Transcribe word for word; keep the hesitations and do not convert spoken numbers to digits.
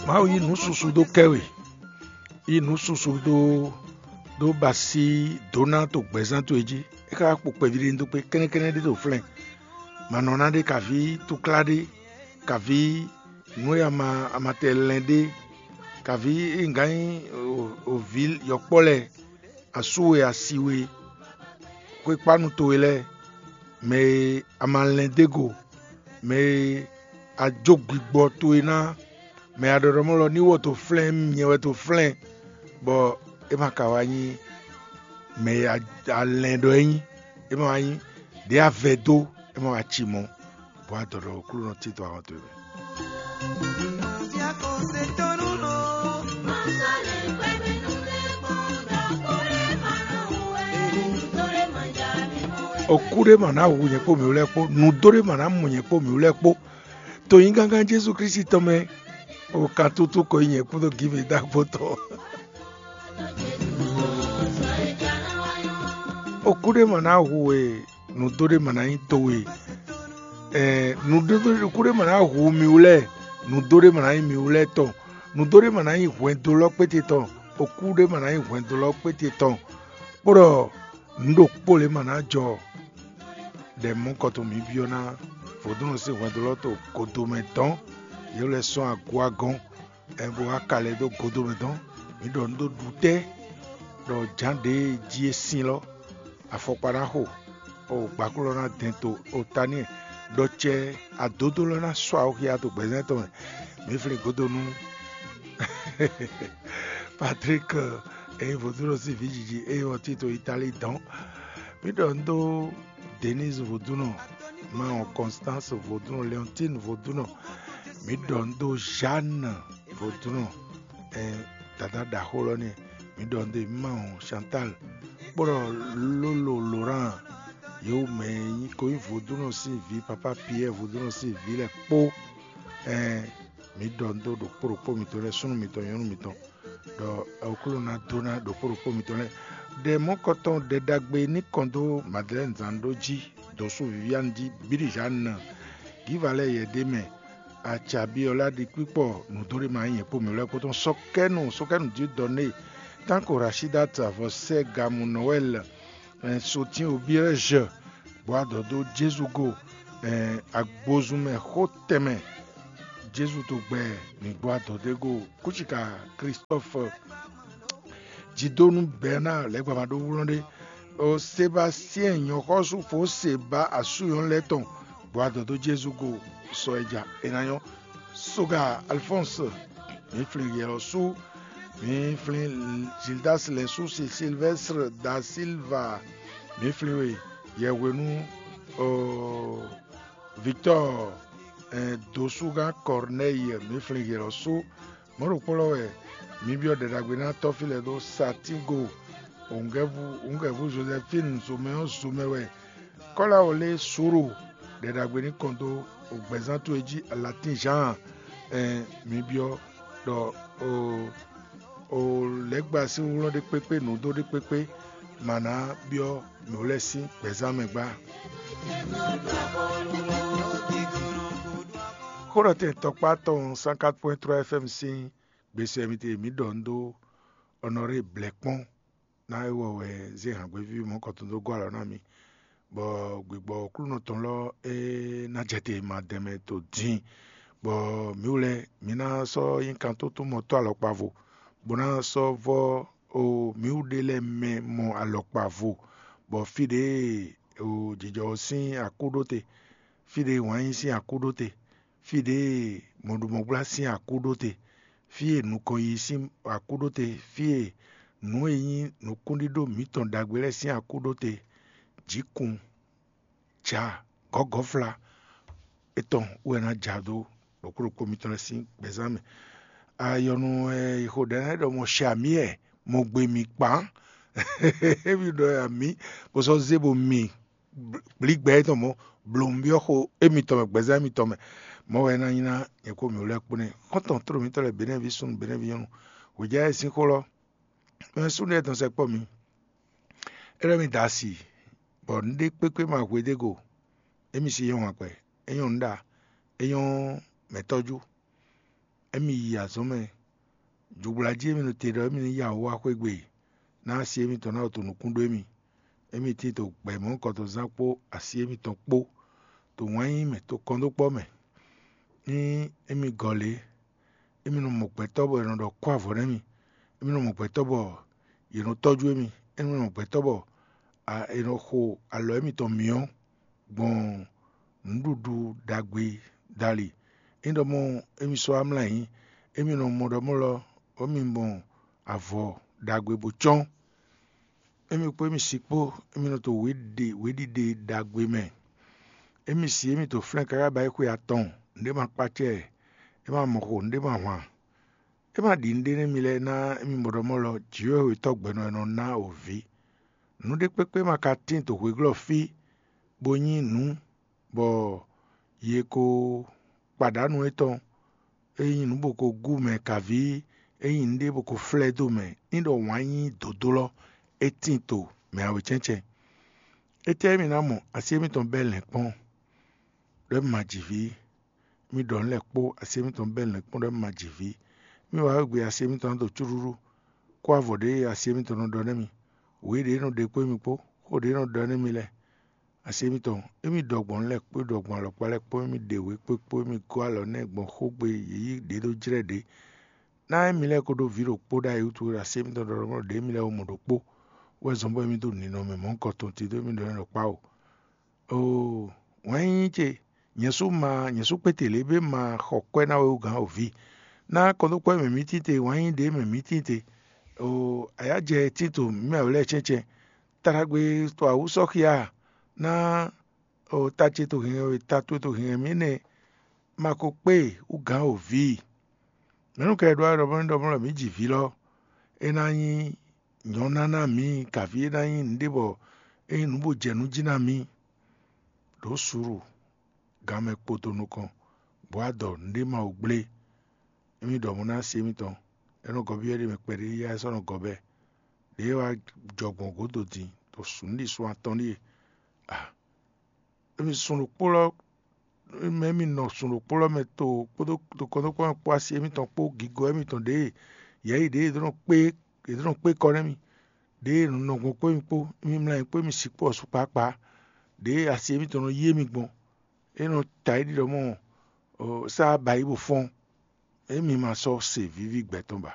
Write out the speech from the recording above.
Mawu yí nǔ susu dó kɛ we, yí nǔ susu dó dó ba sí dǒ ná to gbɛ̌zán towe jí. É ka wá kpo kpɛví ɖé dó kpé kɛ́nɛ́kɛ́nɛ́ ɖé to flɛ́n. Manɔná ɖé, kaví túklá ɖé, kaví nǔ e ama amatɛ lɛn ɖé, kaví é ŋgá nyí òvǐ yɔkpɔ́ lɛ́ɛ, asú we, asi we, xwékpánu towe lɛ́ɛ, mɛ e a ma lɛn dó go, mɛ e a jó gbigbɔ towe ná, mɛ e a ɖɔ ɖɔ mɔ̌ lɔ ní wɔ to flɛ́n, nyɛ wɛ to flɛ́n, bɔ é ma ka wá nyí mɛ e a lɛn ɖɔ é nyí, é ma wá nyí ɖě a vɛ dó, é ma wá ci mɔ̌, bɔ a dɔ ɖɔ Aklúnɔ tito ahɔn towe mɛ. Okú ɖé ma ná hu nyɛ kpó mǐ lɛ́ɛ kpó, nǔdó ɖé ma ná mɔ nyɛ kpó mǐ lɛ́ɛ kpó. To nyí gángan Jezu Klísu tɔn mɛ, o kan tútú ko nyí nyɛ kpódó gǐmɛ ɖaxó tɔn. Okú ɖé ma ná hu we, nǔdó ɖé ma ná nyí towe. Ɛɛ, nǔdó ɖé ma ná hu mi wú lɛ́ɛ, nǔdó ɖé ma ná nyí mi wú lɛ́ɛ tɔn, nǔdó ɖé ma ná nyí hwɛndo lɔ kpéte tɔn, okú ɖé ma ná nyí hwɛndo lɔ kpéte tɔn, kpó ɖɔ nǔ ɖokpó lě ma ná jɔ ɖɛ mɔ̌kɔtɔn mǐ byɔ́ ná vodúnnɔ sín hwɛndo lɔ to godomɛ dɔn, yě lɛ́ sɔ́ agó agɔ́n, ɛ bó wá ka lɛ́ dó godomɛ dɔn. Mǐ ɖɔ nǔ dó ɖu tɛ́ ɖɔ jǎn ɖě jí é sin lɔ, afɔkpa ná xo, o gbǎkún lɔ ná dɛn to o ta n'i, ɖɔ cɛ adódó lɔ ná sɔ́ awɔxia to gbɛzɛ́n tɔn mɛ. Mǐ flín godo nú Patrik, e nyí vodúnɔ sín vǐ jiji, e nyí ɔ́ tito Italíi dɔn. Mǐ ɖɔ nǔ dó Denise vodúnɔ, ma wɔn Constance vodúnɔ, Léontine vodúnɔ. Mǐ ɖɔ nǔ dó Jeanne vodúnɔ, ɛn dada ɖaxó lɔ nɛ́. Mǐ ɖɔ nǔ dó ma wɔn Chantal, kpɔ́ ɖɔ Lolo Laurent, yě wú mɛ e nyí ko nyí vodúnɔ sín vǐ, papa Pierre vodúnɔ sín vǐ lɛ́ɛ kpó. Ɛn mǐ ɖɔ nǔ dó ɖokpó ɖokpó mitɔn lɛ́ɛ, súnnu mitɔn, nyɔ̌nu mitɔn, ɖɔ Aklúnɔ ná dó ná ɖokpó ɖokpó mitɔn lɛ́ɛ. Ɖɛ mɔ̌kɔtɔn ɖɛ ɖagbe ní kɔn dó Madlɛ́n zǎn ɖó jí, dǒsú Viviane jí, Bíɖi Žǎn, Gǐvalɛ Yɛɖémɛ, Acabiyɔlá ɖi kpíkpɔ nǔdó ɖé ma nyí nyɛ kpó mǐ lɛ́ɛ kpó tɔn, Sɔkɛ́nu, Sɔkɛ́nu Dieudonné, Tánko Rachidata, Vɔsɛ́ Gamu Nɔwɛ́l, Sotín Obiɛ́zhɛ, bɔ a dɔ dó Jezu go, agbozunmɛ xó tɛnmɛ, Jezu to gbɛ mǐ gbɔ adɔ dó go, Kúcika Klistɔ́fu, Jidónu Bɛɛnáa, lɛ̌gbama ɖó wlɔ́n ɖé, o Sebasyɛ́n nyɔ̌xɔ́sú Fɔ́seba asúnyɔ̌nu lɛ́ɛ tɔn, bɔ a dɔ dó Jezu go, sɔ e ja è nǎ nyɔ́. Soga Alfɔ́ns, mǐ flín Yɛlɔsú, mǐ flín Gildas Lɛnsúsi, Silvɛ́stre da Silva, mǐ flín we, Yɛhwenu, oo, Victor, dǒsúgán Kɔrnɛyi, mǐ flín Yɛlɔsú. Mɔ̌ ɖokpó lɔ wɛ mǐ byɔ́ ɖɛ ɖagbe ná tɔ́fí lɛ́ɛ dó Satígo, òŋgɛ́vú òŋgɛ́vú Jozɛfín zomɛ ɔ́ zomɛ wɛ. Kɔ́láwɔlé Suúlu, ɖɛ ɖagbe ní kɔn dó gbɛ̌zán towe jí, Alatín Zǎan, ɛn mǐ byɔ́ ɖɔ o o lɛ̌gba sín wlɔ́n ɖé kpékpé, nǔdó ɖé kpékpé ma ná byɔ́ mǐ lɛ́ɛ sín gbɛ̌zán mɛ gbá. Xó ɖɔ tɛn tɔkpá tɔn cent quatre point trois F M sín gbèsè mitɔn e mǐ ɖɔ nǔ dó Ɔnɔɖé Blɛ̌kpɔ́n ná é wɔ wɛ zé hǎngbéví mɔ̌kɔtɔn dó gɔ́ alɔ ná mi, bɔ gbigbɔ Aklúnɔ tɔn lɔ é ná jɛ te madɛmɛ to din, bɔ mǐ wú lɛ́ɛ mǐ ná sɔ́ nyí kantótó mɔtɔ́ alɔkpa vo, bó ná sɔ́ vɔ́ o mǐ wú ɖe lɛ́ɛ mɛ mɔ alɔkpa vo, bɔ fí ɖě e o jijɔ ɔ́ sín akú ɖó te, fí ɖě e wǎn yí sín akú ɖó te, fí ɖě e mɔɖomɔgbla sín akú ɖó te, fí e nukɔn yiyi sín akú ɖó te, fí e nǔ e nyí nukúnɖíɖó mǐtɔn ɖagbe lɛ́ɛ sín akú ɖó te, jǐkun ja gɔ̌gɔ́fla étɔn wɛ ná ja dó ɖokpó ɖokpó mitɔn lɛ́ɛ sín gbɛzán mɛ. Ayɔnu e xo ɖɛ lɛ́ɛ ɖɔ mɔ xɛ amǐ wɛ, mɔ gbe mǐ kpán. Émi ɖɔ amǐ bó sɔ́ zé bo mi gblǐgbɛ étɔn mɔ̌, blǒmúbyɔ́ xo émitɔn mɛ, gbɛzán émitɔn mɛ. Mɔ̌ wɛ é ná nyí ná nyɛ kpó mǐ lɛ́ɛ kpó nɛ́. Xɔ́ntɔn tló mǐtɔn lɛ́ɛ Benɛ́vi súnnu Benɛ́vi nyɔ́nu, hwějá e sín xó lɔ, mɛ súnnu e dɔn sɛkpɔ́ mi, é ɖɔ mi da asi, bɔ nǔɖé kpékpé ma hwedó e go. Émi si nyɔ́ hwankpɛ, é nyɔ́ nǔɖa, é nyɔ́ mɛ̌tɔ́jú. émí yi azɔ̌ mɛ. Jugblá jí émí nɔ te ɖɔ émí ní ya wǔ wá xwé gbe, ná asi émítɔn ná to nukún ɖó émí. Émí tíin to gbɛ̌mɔ́kɔtɔzán kpó asi émítɔn kpó, to wǎn yíyí mɛ, to kɔndókpɔ́ mɛ. Ní émí gɔ́ lě, émí nɔ mɔ gbɛtɔ́ bɔ è nɔ ɖɔ kɔ́ avɔ nú émí; émí nɔ mɔ gbɛtɔ́ bɔ yě nɔ tɔ́jú émí; émí nɔ mɔ gbɛtɔ́ bɔ è nɔ xo alɔ émítɔn myɔ gbɔn nǔɖuɖu ɖagbe dali. Ényí ɖɔ mɔ émí sɔ́ wá mlá ayǐ, émí nɔ mɔ ɖɔ mɔ̌ lɔ, bɔ émí mɔ avɔ ɖagbe bó cɔ́n. Émí kpó émí si kpó, émí nɔ to wěɖiɖe wěɖiɖe ɖagbe mɛ. Émí si émí to flɛ́n káká ba yi xwe atɔn, nǔɖé ma kpácá ɛ, é ma mɔ xo, nǔɖé ma hwan. É ma ɖi nǔɖé nú émí lɛ́ɛ ná émí mɔ ɖɔ mɔ̌ lɔ, jǐwɛ́hwetɔ́ gbɛnɔ e nɔ ná wǒ ví. Nǔɖé kpékpé ma ka tíin to hweglɔ́ fí, bó nyí nǔ bɔ yě ko kpa ɖǎ nú étɔn, é nyí nǔ bó ko gú mɛ kaví, é nyí nǔɖé bó ko flɛ́ dó mɛ, ní ɖɔ wǎn nyí dǒdó lɔ, é tíin to mɛ awecɛ́ncɛ́n. Étɛ́ mì ná mɔ así émítɔn bɛ́ lɛ̌n kpɔ́n, ɖɔ mì ma ji vǐ? Mi ɖɔ nǔ lɛ́ɛ kpó así émítɔn bɛ́ lɛ̌n kpɔ́n, ɖɔ mì ma ji vǐ? Mi wá wegbe así émítɔn ná dó cúɖúɖú, kó avɔ ɖě así émítɔn nɔ ɖɔ nú mi, wěɖé nɔ ɖe kpó émi kpó, xó ɖě nɔ ɖɔ nú mi lɛ́ɛ. Asi émítɔn, émí ɖɔ gbɔn nǔ lɛ́ɛ kpó, ɖɔ gbɔn alɔkpa lɛ́ɛ kpó, émí ɖe wě kpé kpó, émí gɔ́ alɔ nɛ́ gbɔn xógbe yě yí ɖě dó jlɛ́ ɖě. Ná émí lɛ́ɛ ko ɖó vǐ ɖokpó ɖ'ayǐ wútu asi émítɔn ɖɔ ɖɔ ɖě émí lɛ́ɛ wú mɔ ɖokpó wɛ zɔn bɔ émí dó ninɔmɛ mɔ̌hunkɔtɔn tito émí ɖɔ nɛ́ ɖɔ kpá o. Oo, wǎn yíyí ce, nyɛ sú ma nyɛ sú kpéte lě bě ma xɔ kwɛ́ ná we wú gǎn o vǐ. Ná kɔntókpɔ́ mɛ mǐ tinte, wǎn yíyí ɖě mɛ mǐ tinte. Oo, ayǎjɛ tín to mǐ mɛ wǔ lɛ́ɛ cɛ́ncɛ́n. Taɖagbe to awǔ sɔ́ xia ná o ta ce to hɛngɛn we, ta towe to hɛngɛn mì énɛ́ ma ko kpé wú gǎn o vǐ. Mɛ̌ nú ka è ɖó alɔ ɖɔ mɔ̌ ɖɔ mɔ̌ mǐ ji vǐ lɔ? É ná nyí nyɔ̌ná ná mǐ, kaví é ná nyí nǔɖé bɔ é nyí nǔ bó jɛ nú jí ná mǐ. Ɖǒ suúlu, gan mɛ kpoto nukɔn, bó wá dɔ nǔɖé ma wú gblé. Émí ɖɔ mɔ̌ ná se émítɔn, é nɔ gɔ́ byɔ́ ɖé mɛ kpɛɖé yá é sɔ́ nɔ gɔ́ bɛ́. Ɖěe wá jɔ gbɔn gǒdo din ɖo sǔnɖi sun atɔn ɖíe. A émi sun ɖokpó lɔ mɛ émi nɔ sun ɖokpó lɔ mɛ to kpódó tokɔ́ntókpɔ́ mɛ kpó asi émítɔn kpó gigo émítɔn ɖěe yɛ̌yi ɖěe è ɖǒ nɔ kpé è ɖǒ nɔ kpé kɔ nú émi, ɖěe è nɔ nɔ gbɔn kpó émi kpó, émi mlá nyi kpó émi sixú ɔ́ sú kpákpá, ɖěe asi émítɔn nɔ yí émi gbɔn, é nɔ ta yi ɖiɖɔ mɔ sá ba yí bó fɔ́n. Émi ma sɔ́ se víví gbɛtɔ́ ba.